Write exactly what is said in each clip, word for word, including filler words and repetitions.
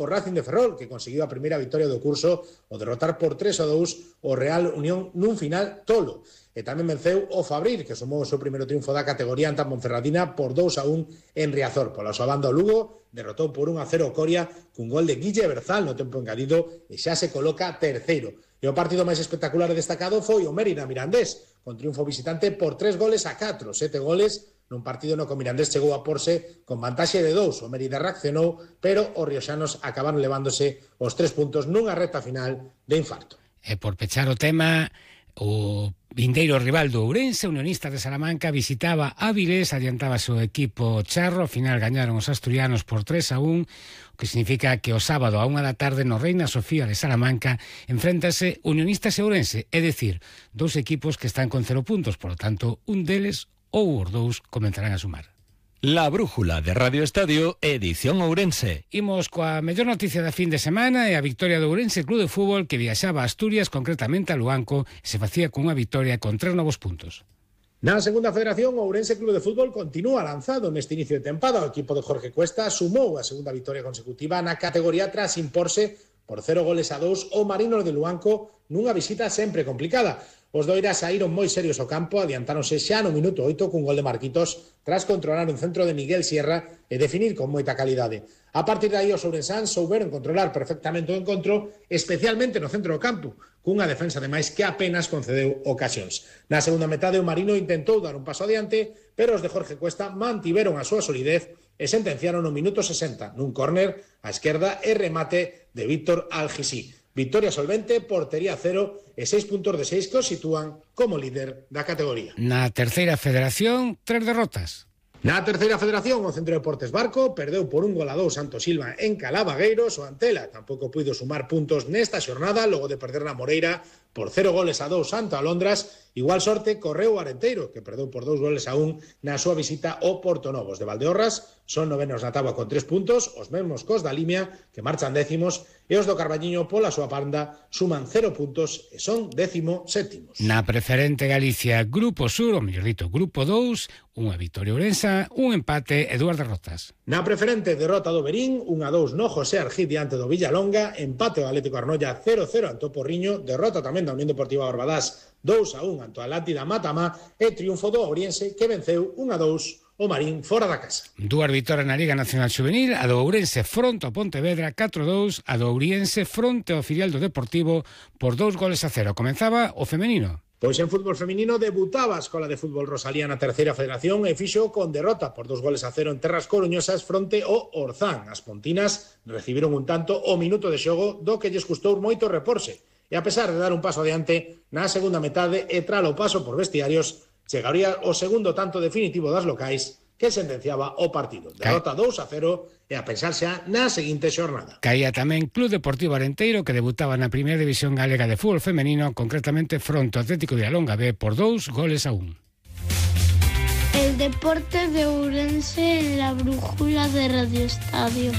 o Racing de Ferrol, que conseguiu a primeira victoria do curso ao derrotar por tres a dous o Real Unión nun final tolo. E tamén venceu o Fabril, que sumou o seu primeiro triunfo da categoría ante a Ponferradina por dous a un en Riazor. Pola súa banda o Lugo derrotou por un a cero o Coria cun gol de Guille Berzal no tempo engadido e xa se coloca terceiro. E o partido máis espectacular e destacado foi o Mérida Mirandés, con triunfo visitante por tres goles a catro, sete goles nun partido no que o Mirandés chegou a porse con vantaxe de dous. O Mérida reaccionou, pero os rioxanos acabaron levándose os tres puntos nunha recta final de infarto. E por pechar o tema, o vindeiro rival do Ourense, Unionistas de Salamanca, visitaba Áviles, adiantábase o equipo charro, ao final gañaron os asturianos por tres a un, o que significa que o sábado a unha da tarde no Reina Sofía de Salamanca enfréntase Unionistas e Ourense, é dicir, dous equipos que están con cero puntos, por lo tanto, un deles ou os dous comenzarán a sumar. La brújula de Radio Estadio, edición Ourense. Imos coa mellor noticia da fin de semana e a victoria do Ourense Club de Fútbol, que viaxaba a Asturias, concretamente a Luanco, e se facía con unha victoria con tres novos puntos. Na segunda federación, o Ourense Club de Fútbol continúa lanzado neste inicio de tempada. O equipo de Jorge Cuesta sumou a segunda victoria consecutiva na categoría tras imporse por cero goles a dous o Marinos de Luanco nunha visita sempre complicada. Os doiras saíron moi serios ao campo, adiantáronse xa no minuto oito cun gol de Marquitos tras controlar un centro de Miguel Sierra e definir con moita calidade. A partir de aí os ourensáns souberon controlar perfectamente o encontro, especialmente no centro do campo, cunha defensa ademais que apenas concedeu ocasións. Na segunda metade o Marino intentou dar un paso adiante, pero os de Jorge Cuesta mantiveron a súa solidez e sentenciaron no minuto sesenta nun córner á esquerda e remate de Víctor Algisí. Victoria solvente, portería cero e seis puntos de seis que os sitúan como líder da categoría. Na terceira federación, tres derrotas. Na terceira federación, o Centro de Deportes Barco perdeu por un gol a dous Santo Silva en Calavagueiros. O Antela tampouco puido sumar puntos nesta xornada, logo de perder na Moreira por cero goles a dous Santo Alondras. Igual sorte correu o Arenteiro, que perdeu por dous goles a un na súa visita ao Portonovos de Valdeorras. Son novenos na táboa con tres puntos, os mesmos cos da Limia, que marchan décimos, e os do Carballiño pola súa banda suman cero puntos e son décimo sétimos. Na preferente Galicia, Grupo Sur, ou mellor dito, Grupo dous, unha victoria ourensa, un empate e dúas derrotas. Na preferente, derrota do Berín, un a dous no José Argid diante do Villalonga, empate ao Atlético Arnoia cero cero ante o Porriño, derrota tamén da Unión Deportiva Barbadás dous a un ante o Atlántida Matamá e triunfo do Ouriense que venceu un a dous o Marín fora da casa. Dúas vitorias na Liga Nacional Xuvenil, a do Ourense fronte ao Pontevedra catro a dous, a do Ouriense fronte ao filial do Deportivo por dous goles a cero. Comenzaba o femenino. Pois en fútbol feminino debutaba a Escola de Fútbol Rosalía na terceira federación e fixo con derrota por dos goles a cero en terras coruñosas fronte ao Orzán. As pontinas recibiron un tanto o minuto de xogo do que lles custou moito reporse. E a pesar de dar un paso adiante, na segunda metade e tras o paso por vestiarios, chegaría o segundo tanto definitivo das locais que sentenciaba o partido. Derrota dous a cero e a pensar xa na seguinte xornada. Caía tamén Club Deportivo Arenteiro, que debutaba na primeira división galega de fútbol femenino, concretamente fronte ao Atlético de Alonga B por dous goles a un. El deporte de Ourense en la brújula de Radio Estadio.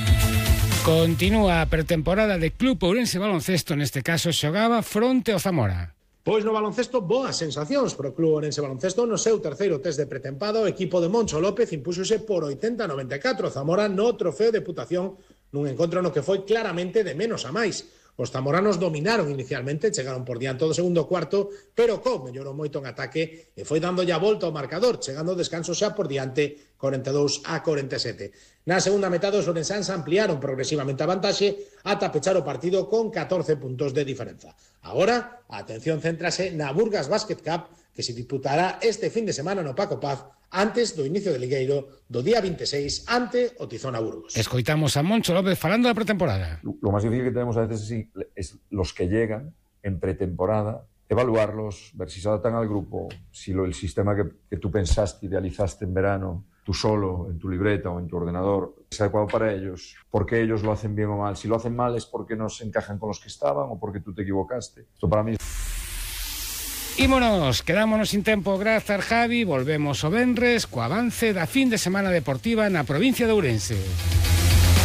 Continúa a pretemporada de Club Ourense Baloncesto, neste caso xogaba fronte ao Zamora. Pois no baloncesto, boas sensacións para o Club Ourense Baloncesto. No seu terceiro test de pretempada, o equipo de Moncho López impúxose por oitenta a noventa e catro Zamora no trofeo de Putación, nun encontro no que foi claramente de menos a máis. Os zamoranos dominaron inicialmente, chegaron por diante do segundo cuarto, pero Co mellorou moito en ataque e foi dando ya volta ao marcador, chegando ao descanso xa por diante cuarenta e dous a cuarenta e sete. Na segunda metade os ourensáns ampliaron progresivamente a vantaxe ata pechar o partido con catorce puntos de diferenza. Agora, a atención céntrase na Burgas Basket Cup, que se disputará este fin de semana no Paco Paz, antes do inicio do ligueiro do día veintiséis ante o Tizona Burgos. Escoitamos a Moncho López falando da pretemporada. Lo más difícil que tenemos a veces sí, es los que llegan en pretemporada, evaluarlos, ver si se adaptan al grupo, si lo, el sistema que, que tú pensaste, idealizaste en verano, tú solo, en tu libreta o en tu ordenador, es adecuado para ellos, por qué ellos lo hacen bien o mal. Si lo hacen mal es porque no se encajan con los que estaban o porque tú te equivocaste. Esto para mí... Ímonos, quedámonos sin tempo, grazas Javi, volvemos o venres co avance da fin de semana deportiva na provincia de Ourense.